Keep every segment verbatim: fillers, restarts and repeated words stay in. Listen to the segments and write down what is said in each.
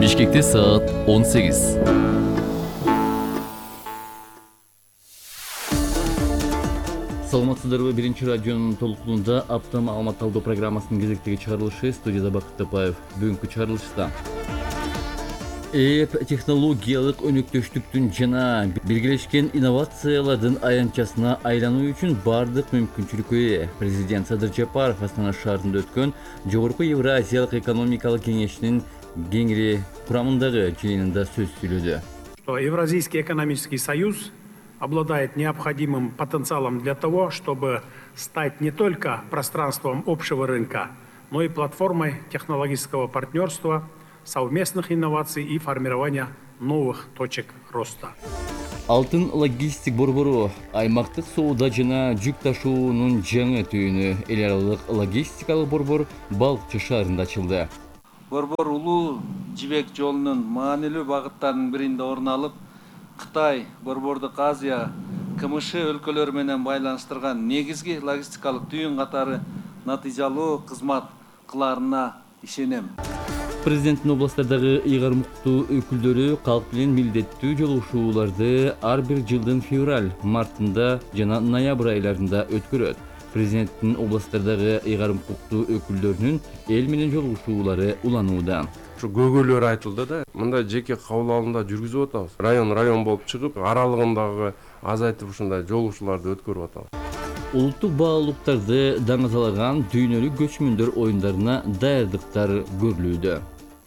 Бишкекте саат он сегиз. Саламатсыздарбы? Биринчи радионун толкунунда апта маалымат алуу программасынын кезектеги чыгарылышы. Студияда Бакыт Тапаев. Бүгүнкү чыгарылышта эп технологиялык өнөктөштүктүн жана биргелешкен инновациялардын аянтчасына айлануу үчүн бардык мүмкүнчүлүккө ээ. Президент Садыр Жапаров Астана шаарында өткөн Жогорку Евразиялык экономикалык кеңешинин кеңири курамындагы жыйынында сөз сүйлөдү. Что Евразийский экономический союз обладает необходимым потенциалом для того, чтобы стать не только пространством общего рынка, но и платформой технологического партнерства, совместных инноваций и формирования новых точек роста. Алтын логистик борбору аймактык соода жана жүк ташуунун жаңы түйүнү эл аралык логистикалык борбор Балыкчы шаарында ачылды. Борбор улуу жибек жолунун маанилүү багыттарынын биринде орун алып, Кытай, Борбордук Азия, КМШ өлкөлөрү менен байланыштырган негизги логистикалык түйүн катары натыйжалуу кызмат кылаарына ишенем. Президенттин областтардагы ыйгарым укуктуу өкүлдөрү калк менен милдеттүү жолугушууларды ар бир жылдын февраль, мартында жана ноябрь айларында өткөрөт. Президенттин областтардагы ыйгарым укуктуу өкүлдөрүнүн эл менен жолугушуулары уланууда. Ушу көйгөйлөр айтылды да, мындай жеке кабыл алымда жүргүзүп атабыз. Район район болуп чыгып, аралыгындагы азайтып ушундай жолугушууларды өткөрүп атабыз. Улуттук баалуулуктарды даңазалаган дүйнөлүк көчмөндөр оюндарына даярдыктар көрүлүүдө.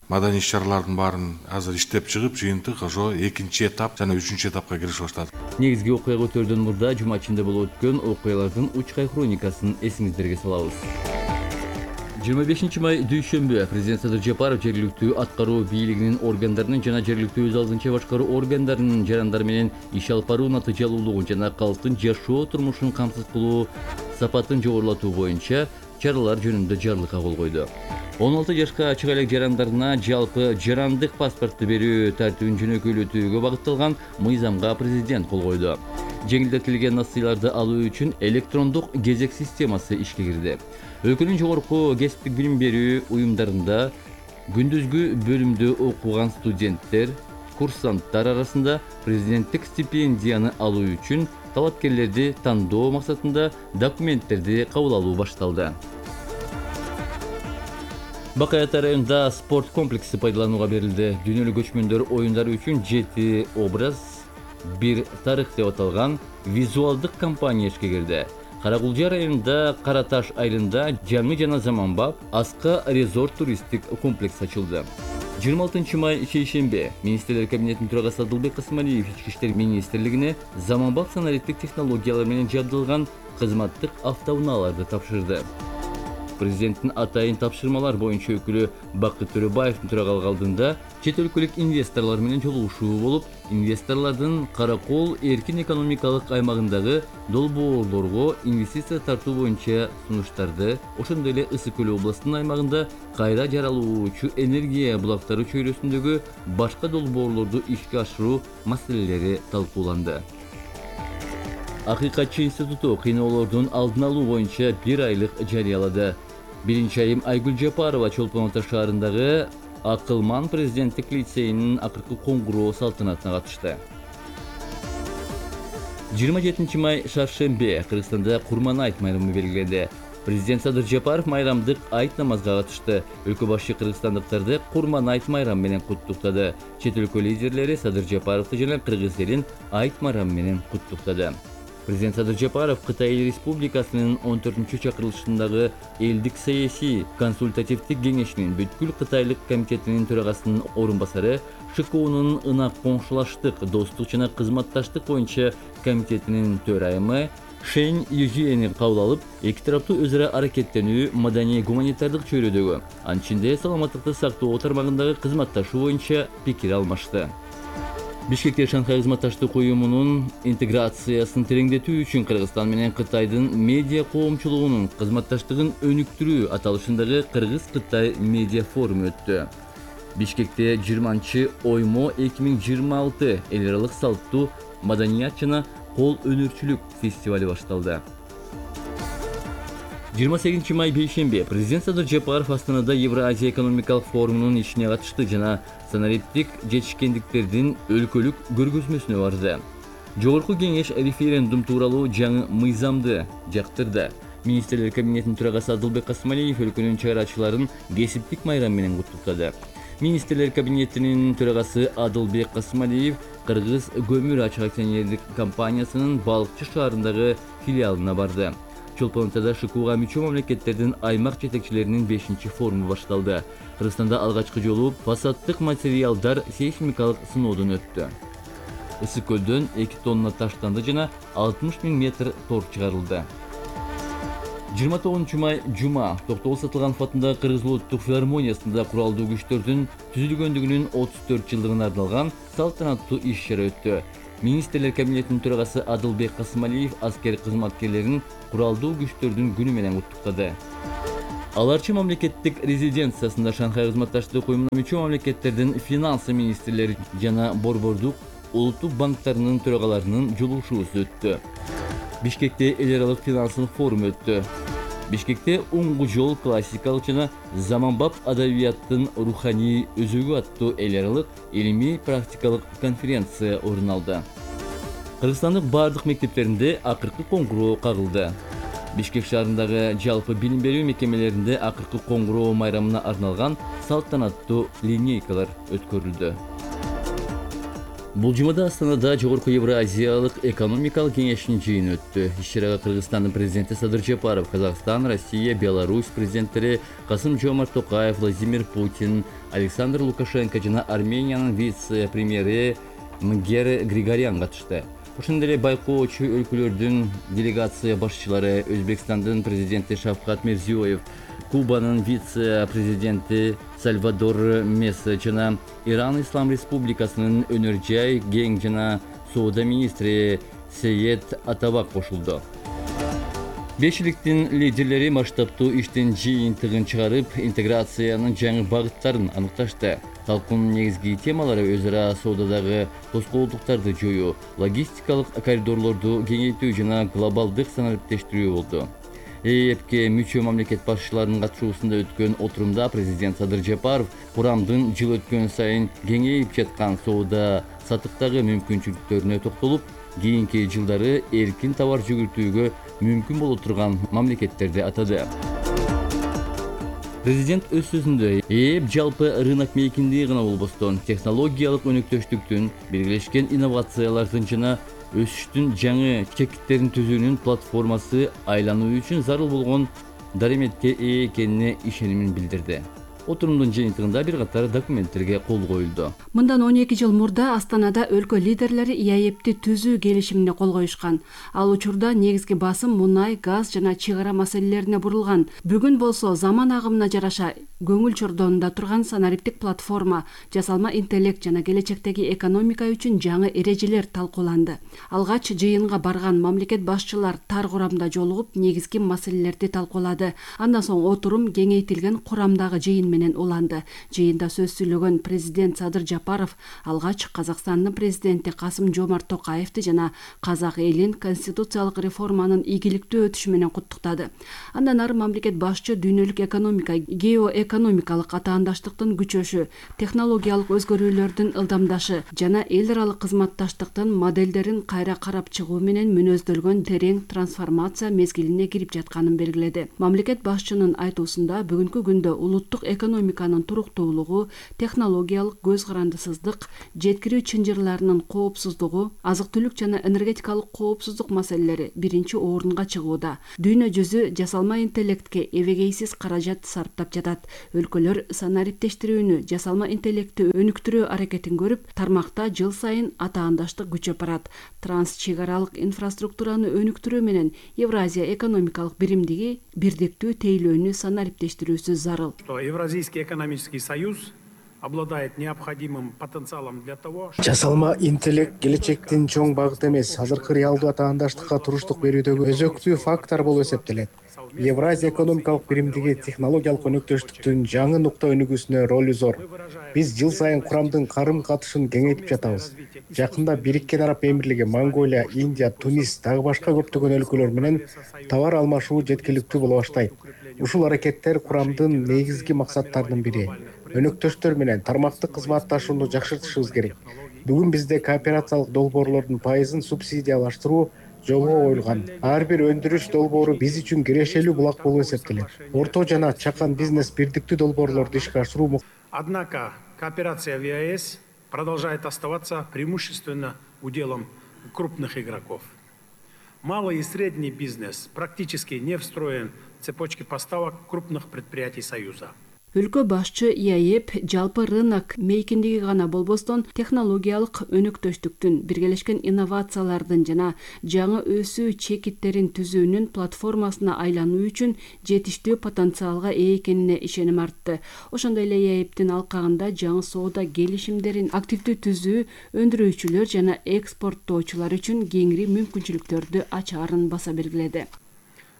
Маданий иш-чаралардын баарын азыр иштеп чыгып, жыйынтык ошо экинчи этап жана үчүнчү этапка киришип баштады. Негизги окуяга өтөрдөн мурда жума ичинде болуп өткөн окуялардын учкай хроникасын эсиңиздерге салабыз. жыйырма бешинчи май дүйшөмбү Президент Садыр Жапаров жергиликтүү аткаруу бийлигинин органдарынын жана жергиликтүү өз алдынча башкаруу органдарынын жарандары менен иш алып баруу натыйжалуулугун жана калктын жашоо турмушун камсыз кылуу сапатын жогорулатуу боюнча чаралар жөнүндө жарлыкка кол койду. он алты жашка ачык элек жарандарына жалпы жарандык паспорту берүү тартибин жөнөкөйлөтүүгө багытталган мыйзамга президент кол койду. Жеңилдетилген насыйларды алуу үчүн электрондук кезек системасы ишке кирди. Өлкөнүн жогорку кесиптик билим берүү уюмдарында күндүзгү бөлүмдө окуган студенттер, курсанттар арасында президенттик стипендияны алуу үчүн талапкерлерди тандоо максатында документтерди кабыл алуу башталды. Бакай Ата районунда спорт комплекси пайдаланууга берилди. Дүйнөлүк көчмөндөр оюндары үчүн жети образ, бир тарых деп аталган визуалдык компания ишке кирди. Каракулжа районунда Кара Таш айылында жаңы жана заманбап Аска резорт туристтик комплекс ачылды. жыйырма алтынчы май шейшембе Министрлер кабинетинин төрагасы Адылбек Касымалиев Ички иштер министрлигине заманбап санариптик технологиялар менен жабдылган кызматтык автоунааларды тапшырды. Президенттин атайын тапшырмалар боюнча өкүлү Бакыт Төрөбаевдин төрагалык алдында чет өлкөлүк инвесторлор менен жолугушуу болуп, инвесторлордун Каракол эркин экономикалык аймагындагы долбоорлорго инвестиция тартуу боюнча сунуштарды, ошондой эле Ысык Көл областынын аймагында кайра жаралуучу энергия булактары чөйрөсүндөгү башка долбоорлорду ишке ашыруу маселелери талкууланды. Акыйкатчы институту кыйноолордун алдын алуу боюнча бир айлык жарыялады. Биринчи айым Айгүл Жапарова Чолпон Ата шаарындагы Акылман президенттик лицейинин акыркы коңгуроо салтанатына катышты. жыйырма жетинчи май шаршембе Кыргызстанда Курман айт майрамы белгиленди. Президент Садыр Жапаров майрамдык айт намазга катышты. Өлкө башы кыргызстандыктарды Курман айт майрамы менен куттуктады. Чет өлкө лидерлери Садыр Жапаровду жана кыргыз элин айт майрамы менен куттуктады. Президент Садыр Жапаров Кытай Эл Республикасынын он төртүнчү чакырылышындагы элдик саясий консультативдик кеңешинин бүткүл кытайлык комитетинин төрагасынын орун басары, ШКУнун ынак коңшулаштык, достук жана кызматташтык боюнча комитетинин төрайымы Шэнь Южиени кабыл алып, эки тараптуу өз ара аракеттенүү маданий гуманитардык чөйрөдөгү, анын ичинде саламаттыкты сактоо тармагындагы кызматташуу боюнча пикир алмашты. Бишкекте Шанхай кызматташтык уюмунун интеграциясын тереңдетүү үчүн Кыргызстан менен Кытайдын медиа коомчулугунун кызматташтыгын өнүктүрүү аталышындагы Кыргыз-Кытай медиа форуму өттү. Бишкекте жыйырманчы оймо эки миң жыйырма алты эл аралык салттуу маданият жана кол өнөрчүлүк фестивали башталды. жыйырма сегизинчи май бейшемби президент Садыр Жапаров Астанада Евразия экономикалык форумунун ишине катышты жана санариптик жетишкендиктердин өлкөлүк көргөзмөсүнө барды. Жогорку кеңеш референдум тууралуу жаңы мыйзамды жактырды. Министрлер кабинетинин төрагасы Адылбек Касымалиев өлкөнүн чыгарачыларын кесиптик майрам менен куттуктады. Министрлер кабинетинин төрагасы Адылбек Касымалиев Кыргыз көмүр ачык акционерлик компаниясынын Балыкчы шаарындагы филиалына барды. Чолпон атада ШКУга мүчө мамлекеттердин аймак жетекчилеринин бешинчи форуму башталды. Кыргызстанда алгачкы жолу фасаддык материалдар сейсмикалык сыноодон өттү. Ысык көлдөн эки тонна таштанды жана алтымыш миң метр тор чыгарылды. жыйырма тогузунчу май жума Токтогул Сатылганов атындагы Кыргыз улуттук филармониясында куралдуу күчтөрдүн түзүлгөндүгүнүн отуз төрт жылдыгына арналган салтанаттуу иш-чара өттү. Министрлер кабинетинин төрагасы Адылбек Касымалиев аскер кызматкерлерин куралдуу күчтөрдүн күнү менен куттуктады. Аларчы мамлекеттик резиденциясында Шанхай кызматташтык уюмуна мүчө мамлекеттердин финансы министрлери жана борбордук улуттук банктарынын төрагаларынын жолугушуусу өттү. Бишкекте эл аралык финансылык форум өттү. Бишкекте уңгу жол классикалык жана заманбап адабияттын руханий өзөгү аттуу эл аралык илимий практикалык конференция орун алды. Кыргызстандын бардык мектептеринде акыркы коңгуроо кагылды. Бишкек шаарындагы жалпы билим берүү мекемелеринде акыркы коңгуроо майрамына арналган салтанаттуу линейкалар өткөрүлдү. Бул жумада Астанада Жогорку Евразиялык экономикалык кеңештин жыйыны өттү. Иш-чарага Кыргызстандын президенти Садыр Жапаров, Казакстан, Россия, Беларусь президенттери Касым-Жомарт Токаев, Владимир Путин, Александр Лукашенко жана Армениянын вице-премьери Мгер Григорян катышты. Ошондой эле байкоочу өлкөлөрдүн делегация башчылары Өзбекстандын президенти Шавкат Мирзиёев, Кубанын вице-президенти Сальвадор Месса жана Иран Ислам Республикасынын өнөр жай, кең жана соода министри Сеет Атабак кошулду. Бешиликтин лидерлери масштабтуу иштин жыйынтыгын чыгарып, интеграциянын жаңы багыттарын аныкташты. Талкуунун негизги темалары өз ара соодадагы тоскоолдуктарды жоюу, логистикалык коридорлорду кеңейтүү жана глобалдык санариптештирүү болду. ЭЭПке мүчө мамлекет башчыларынын катышуусунда өткөн отурумда президент Садыр Жапаров курамдын жыл өткөн сайын кеңейип жаткан соода сатыктагы мүмкүнчүлүктөрүнө токтолуп, кийинки жылдары эркин товар жүгүртүүгө мүмкүн боло турган мамлекеттерди атады. Президент өз сөзүндө ЭЭП жалпы рынок мейкиндиги гана болбостон, технологиялык өнөктөштүктүн, биргелешкен инновациялардын жана өсүштүн жаңы чекиттерин түзүүнүн платформасы айлануу үчүн зарыл болгон дареметке ээ экенине ишенимин билдирди. Отурумдун жыйынтыгында бир катар документтерге кол коюлду. Мындан он эки жыл мурда Астанада өлкө лидерлери ЭЭПти түзүү келишимине кол коюшкан. Ал учурда негизги басым мунай, газ жана чыгара маселелерине бурулган. Бүгүн болсо заман агымына жараша көңүл чордонунда турган санариптик платформа, жасалма интеллект жана келечектеги экономика үчүн жаңы эрежелер талкууланды. Алгач жыйынга барган мамлекет башчылар тар курамда жолугуп, негизги маселелерди талкуулады. Андан соң отурум кеңейтилген курамдагы жыйын менен уланды. Жыйында сөз сүйлөгөн президент Садыр Жапаров алгач Казакстандын президенти Касым-Жомарт Токаевди жана казак элин конституциялык реформанын ийгиликтүү өтүшү менен куттуктады. Андан ары мамлекет башчы дүйнөлүк экономика, геоэкономикалык атаандаштыктын күчөшү, технологиялык өзгөрүүлөрдүн ылдамдашы жана эл аралык кызматташтыктын моделдерин кайра карап чыгуу менен мүнөздөлгөн терең трансформация мезгилине кирип жатканын белгиледи. Мамлекет башчынын айтуусунда бүгүнкү күндө улуттук экономиканын туруктуулугу, технологиялык көз карандысыздык, жеткирүү чынжырларынын коопсуздугу, азык-түлүк жана энергетикалык коопсуздук маселелери биринчи орунга чыгууда. Дүйнө жүзү жасалма интеллектке эбегейсиз каражат сарптап жатат. Өлкөлөр санариптештирүүнү, жасалма интеллектти өнүктүрүү аракетин көрүп, тармакта жыл сайын атаандаштык күчөп барат. Трансчыгаралык инфраструктураны өнүктүрүү менен Евразия экономикалык биримдиги бирдиктүү тейлөөнү санариптештирүүсү зарыл. Евразийский экономический союз обладает необходимым потенциалом для того, чтобы... Жасалма интеллект келечектин чоң багыты эмес, азыркы реалдуу атаандаштыкка туруштук берүүдөгү өзөктүү фактор болуп эсептелет. Евразия экономикалык биримдиги технологиялык өнөктөштүктүн жаңы нукта өнүгүүсүнө ролу зор. Биз жыл сайын курамдын карым катышын кеңейтип жатабыз. Жакында Бириккен Араб Эмирлиги, Монголия, Индия, Тунис дагы башка көптөгөн өлкөлөр менен товар алмашуу жеткиликтүү боло баштайт. Ушул аракеттер курамдын негизги максаттарынын бири. Өнөктөштөр менен тармактык кызматташууну жакшыртышыбыз керек. Бүгүн бизде кооперациялык долбоорлордун пайызын субсидиялаштыруу жолго коюлган. Ар бир өндүрүш долбоору биз үчүн кирешелүү булак болуп эсептелет. Орто жана чакан бизнес бирдиктүү долбоорлорду ишке ашыруу. Однако кооперация в ЕАЭС продолжает оставаться преимущественно уделом крупных игроков. Малый и средний бизнес практически не встроен в цепочки поставок крупных предприятий Союза. Өлкө башчы ИАЭП жалпы рынок мейкиндиги гана болбостон технологиялык өнөктөштүктүн, биргелешкен инновациялардын жана жаңы өсүү чекиттерин түзүүнүн платформасына айлануу үчүн жетиштүү потенциалга ээ экенине ишеним артты. Ошондой эле ИАЭПтин алкагында жаңы соода келишимдерин активдүү түзүү өндүрүүчүлөр жана экспорттоочулар үчүн кеңири мүмкүнчүлүктөрдү ачаарын баса белгиледи.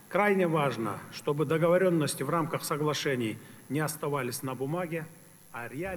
Крайне важно, чтобы договоренности в рамках соглашений не оставались на бумаге, а реально